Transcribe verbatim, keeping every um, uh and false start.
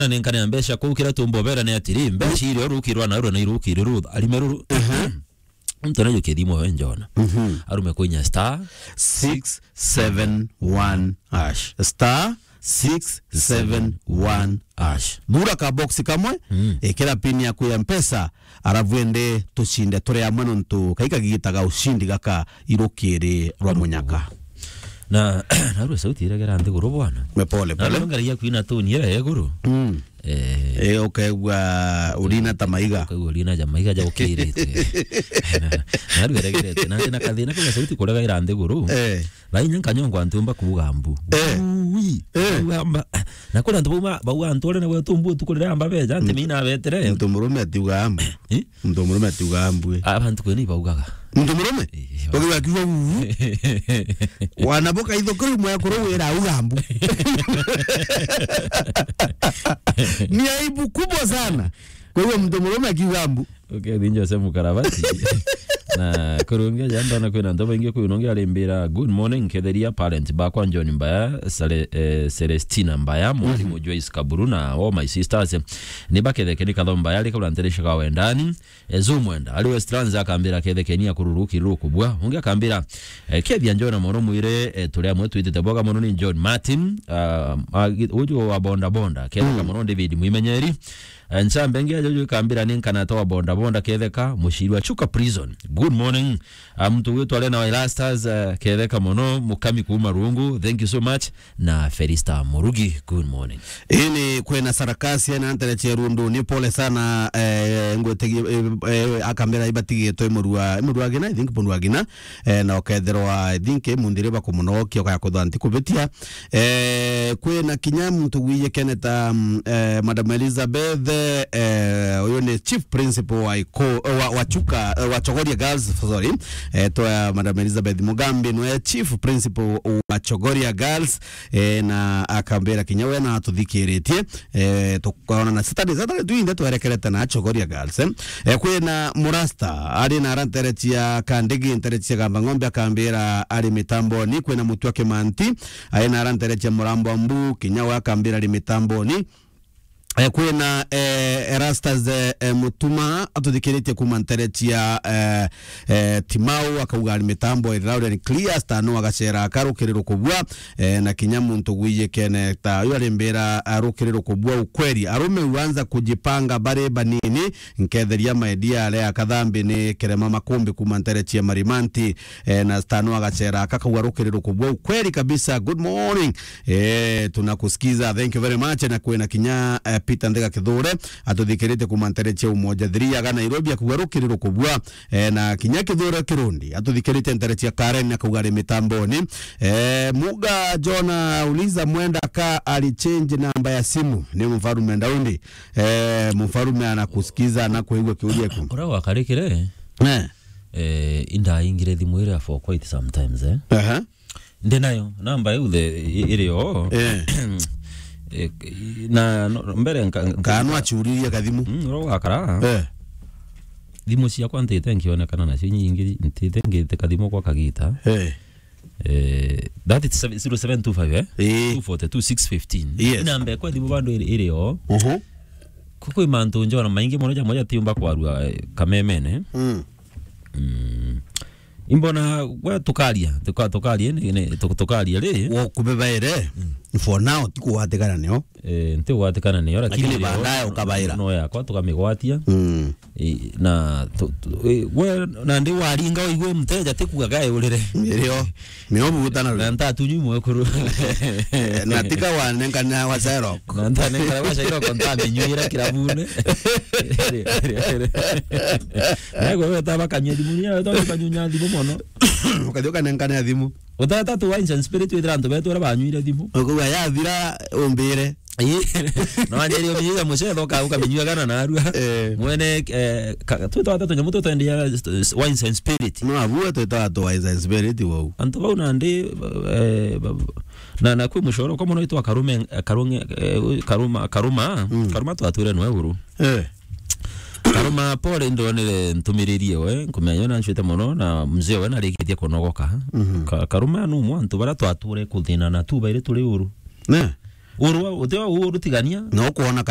Na ninkane mbeca kuu, kiria tumbobera ni atiri, mbeca iria urukirwa na rura na irukiri rutha, arime ruru. Aha. Mtu anajukia thimu we njona. Mhm. Arume kwinya star six seven one hash. Star six seven one hash. Thura ka box kamwe, mm, ikira pin yaku ya Mpesa, arafu ende tucinde turi amwe nontu kai kagigitaga ucindi gaka irukiri rwa munyaka. Na, narua sauti iregera nthiguru bwana. Me pole, na pole. Nongera ya kwina toni ira ya iguru. Mm. Eh. Eh, ukaigua urina ta maiga. Ukaigua urina ja maiga ja ukirite. Na, narua iregerete. Na, na kathina kau ga sauti kurega ira nthiguru. Eh. Lainya nkanyongwa ntiumba kuuga mbu. Eh. Ui. Eh. Kuuga mba. Na kuri antu bauma, bauga antu uri na gwetu mbu tukurira amba beja, nti mina betere. Muntu murume atiuga mbu. Eh? Muntu murume atiuga mbu. Abantu kwini baugaga. Muntu murume? Eh, ukiuga kiuga uu. Wana boka itho kuri mwe kuru wira auga mbu. Ni aibu kubwa sana. Kwa hiyo muntu murume akiuga mbu. Okay, thinjo se mukarabati. Na kurungia jamba na kwina ntoba ingi kwi nongi arimbira. Good morning, ketheria parent bakwa John Mbaya, Sale-, eh, Celestina Mbaya, mwalimu Joyce Kaburu na all my sisters. Ni baketheke ni katho Mbaya, rika uranteresha kwa wendani. Ezu mwenda, ari Westlands akambira kethekeni akururu kiruku bwa. Ungi akambira, eh, kethia njona mono mwire, eh, turi amwe twitite boga mono ni John Martin, ah, agi-, uju wa bonda bonda, ketheka mono David Mwimenyeri. Eh, nchambe ngi ajo ju ikambira ni nkana toa bonda bonda ketheka, muciri wa Chuka Prison. Good morning. Ah, muntu gwitwa Lena wa Erastus, eh, ketheka mono, mukami kuma Rungu. Thank you so much. Na Felista Murugi, good morning. Ini kwina sarakasi na ntere cia rundu, ni pole sana, eh, ngwetegi, eh, eh, akambira ibatigitwe murua, murua gina, I think murua gina, eh, na ukethirwa, I think, munthiri bakumunokia ukaya kuthanti kubitia. Eh, kwina kinya muntu gwiye keneta, mm, eh, Madam Elizabeth, eh, uyu ni chief principal wa Iko-, eh, wa, wa Chuka, eh, wa Chogoria Girls, sorry. Eh, twa Madam Elizabeth Mugambi nwe chief principal wa Chogoria Girls, eh, na akambira kinya we na atuthikiritie, eh, tukaona na Saturday, Saturday tuinde twerekerete na Chogoria Girls, eh. Eh, kwina Murasta, ari na ara ntere cia Kandigi, ntere cia Gamba Ng'ombe, akambira ari mitamboni, kwina Mutua Kimanti, ari na ara ntere cia Murambo Mbu, kinya we akambira ari mitamboni. Eh, kwina, eh, Erastus, eh, eh, Mutuma, atuthikiritie kuma ntere cia, eh, eh, Timau, akauga ari mitambo iri loud and clear, star no agacera akarukiriro kubua, eh, na kinya muntu gwiye kene ta uyu arimbira arukiriro kubua ukweli. Arume huanza kujipanga bari banini, nketheria my dear ale akathambi ni Kerema Makumbi kuma ntere cia Marimanti, eh, na star no agacera akakauga rukiriro kubua ukweli kabisa. Good morning. Eh, tunakusikiza. Thank you very much. Na kwina kinya, eh, Peter Ndega Kithure, atuthikirite kuma ntere cia Umoja three aga Nairobi, akauga rukiriro kubua. Eh, na kinya Kithure Kirundi, atuthikirite ntere cia Karen, akauga ari mitamboni. Eh, Muga Jona uliza mwenda ka ali change namba ya simu. Ni mfarume Daudi. Eh, mfarume anakusikiza, anakuigua kiuria ku. Ura wakarikire? Eh. Eh, indaingire thimu iria for quite sometimes, eh. Aha. Ndi nayo, namba iu the, i-, iri o. Eh. Eh, na, no, mbere nka-, nka- Kana achuririe kathimu. Mm, ro wakara. Eh. Thimu ciakwa ntite nkionekana nacio nyingi, ntite ngite kathimu kwa kagita. Eh. Eh, that is seven, zero seven two five, eh? Eh. Two forty two six fifteen. Yes. Namba kwa thimu bado iri, iri o. Mhm. Kukwi mantu njona maingi mono ja moja tiumba kwarua, eh, kamemene. Mm. Mm. Imbona we tukaria, tuka-, tukaria ni, ni, tu-, tukaria ri. Wo kubebaire. Mm. For now, ti kugwatikana nio. Eh, nti kugwatikana nio, lakini lakini baadaye ukabaira. No yakwa tukamigwatia. Mm. Eh, na tu-, tu-, eh, we, na ndi waringa oigwe mteja ti kuga gae urire. Ndio. Nio buguta na. Na ntatunywi mwekuru. Eh, na tika wanengana wa Sherlock. Na ntanengana wa Sherlock, ntamenywira kirabune. Naigua weta bakanyua thimu, nia weta bakanyunya thimu mono. Ukathi ukanengana thimu. Utata tu wines and spirit withira antu betu aria banywire thimu. Ukuga yathira umbire. Ii. No anjeri uminyia mucetho ka ukaminyua gana narua. Eh. Mwene, eh, ka-, twita wata tunyamu tutwendia, eh, wines and spirit. No, abue twita watu wines and spirit wau. Antu bau nandi, eh, ba-, na, na kwi mucoro kwa mono itwa Karume, Karunge, eh, Karuma, Karuma, Mm. Karuma twatwire nwe uru. Eh. Karuma pole ndonere ntumiririe we, nkumenya yo nancwite mono, na mzee we narikitie kunogoka. Mhm. Ka-, Karuma nu mwantu bara twature kuthina na tu baire turi uru. Ne? Urwa, uti wa uu urutigania. No kwona